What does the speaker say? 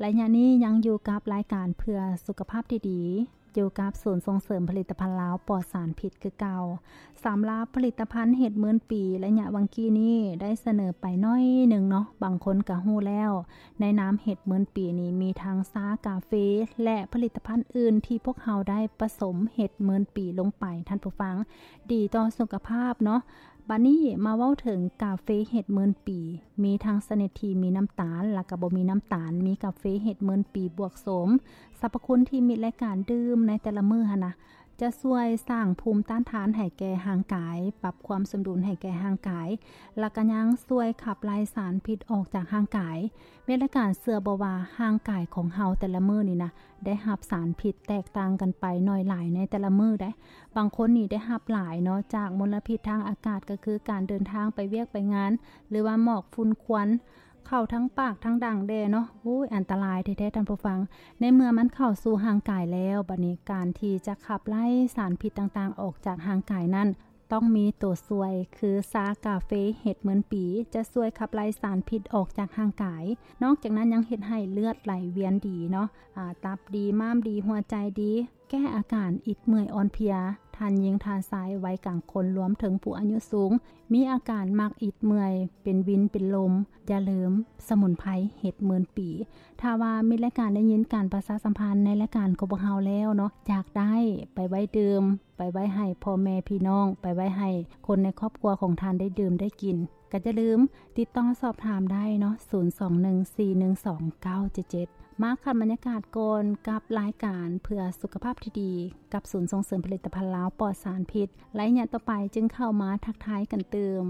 ໄລຍະນີ້ຍັງຢູ່ກັບລາຍການເພື່ອສຸຂະພາບທີ່ດີ ຢູ່ກັບສູນສົ່ງເສີມຜະລິດຕະພັນລາວປອດສານພິດຄືເກົ່າ. ສຳລັບຜະລິດຕະພັນເຫັດໝື່ນປີ ໄລຍະຫວ່າງກີ້ນີ້ໄດ້ສະເໜີໄປໜ້ອຍໜຶ່ງເນາະ, ບາງຄົນກະຮູ້ແລ້ວ. ໃນນາມເຫັດໝື່ນປີນີ້ມີທັງຊາກາເຟ ແລະ ຜະລິດຕະພັນອື່ນທີ່ພວກເຮົາໄດ້ປະສົມເຫັດໝື່ນປີລົງໄປ, ທ່ານຜູ້ຟັງ, ດີຕໍ່ສຸຂະພາບເນາະ. ບາດນີ້ມາເວົ້າເຖິງກາເຟເຫັດໝື່ນປີ, ມີທັງຊະນິດທີ່ມີນ້ຳຕານ ແລະ ກະບໍ່ມີນ້ຳຕານ, ມີກາເຟເຫັດໝື່ນປີບວກໂສມ. ສັບພະຄຸນທີ່ມິດແລະການດື່ມໃນແຕ່ລະມື້ຫັ້ນນະ ຈະຊ່ວຍສ້າງພູມຕ້ານທານໃຫ້ແກ່ຮ່າງກາຍ, ປັບຄວາມສົມດຸນໃຫ້ແກ່ຮ່າງກາຍ, ແລະ ກະຍັງຊ່ວຍຂັບໄລ່ສານພິດອອກຈາກຮ່າງກາຍ. ມິດແລະການເຊື່ອບໍ່ວ່າຮ່າງກາຍຂອງເຮົາແຕ່ລະມື້ນີ້ນະ ໄດ້ຮັບສານພິດແຕກຕ່າງກັນໄປໜ້ອຍຫຼາຍໃນແຕ່ລະມື້ໃດ໋. ບາງຄົນນີ້ໄດ້ຮັບຫຼາຍເນາະ ຈາກມົນລະພິດທາງອາກາດ ກໍຄືການເດີນທາງໄປວຽກໄປງານ ຫຼືວ່າໝອກຝຸ່ນຄວັນ ເຂົ້າທັງປາກທັງດັງແດ່ເນາະ. ໂອ້ຍ ອັນຕະລາຍແທ້ໆ ທ່ານຜູ້ຟັງ. ໃນເມື່ອມັນເຂົ້າສູ່ຮ່າງກາຍແລ້ວ, ບັດນີ້ການທີ່ຈະຂັບໄລ່ສານພິດຕ່າງໆອອກຈາກຮ່າງກາຍນັ້ນ ຕ້ອງມີໂຕຊ່ວຍ ຄືຊາກາເຟເຫັດໝື່ນປີ ຈະຊ່ວຍຂັບໄລ່ສານພິດອອກຈາກຮ່າງກາຍ. ນອກຈາກນັ້ນຍັງເຮັດໃຫ້ເລືອດໄຫຼວຽນດີເນາະ, ອາ, ຕັບດີ, ມ້າມດີ, ຫົວໃຈດີ, ແກ້ອາການອິດເມື່ອຍອ່ອນເພຍ, ທ່ານຍິງ, ທ່ານຊາຍ, ໄວກາງຄົນ, ລວມເຖິງຜູ້ອາຍຸສູງ ມີອາການມັກອິດເມື່ອຍ, ເປັນວິນ, ເປັນລົມ. ຢ່າລືມສະໝຸນໄພເຫັດໝື່ນປີ. ຖ້າວ່າມິດລາຍການໄດ້ຍິນການປະຊາສຳພັນໃນລາຍການຂອງພວກເຮົາແລ້ວເນາະ, ຢາກໄດ້ໄປໄວ້ດື່ມ, ໄປໄວ້ໃຫ້ພໍ່ແມ່ພີ່ນ້ອງ, ໄປໄວ້ໃຫ້ຄົນໃນຄອບຄົວຂອງທ່ານໄດ້ດື່ມໄດ້ກິນ, ກໍຢ່າລືມຕິດຕໍ່ສອບຖາມໄດ້ເນາະ, ສູນສອງໜຶ່ງສີ່ໜຶ່ງສອງເກົ້າເຈັດເຈັດ. ມາຂັດບັນຍາກາດກ່ອນກັບລາຍການເພື່ອສຸຂະພາບທີ່ດີ ກັບສູນສົ່ງເສີມຜະລິດຕະພັນລາວປອດສານພິດ. ໄລຍະຕໍ່ໄປຈຶ່ງເຂົ້າມາທັກທາຍກັນຕື່ມ.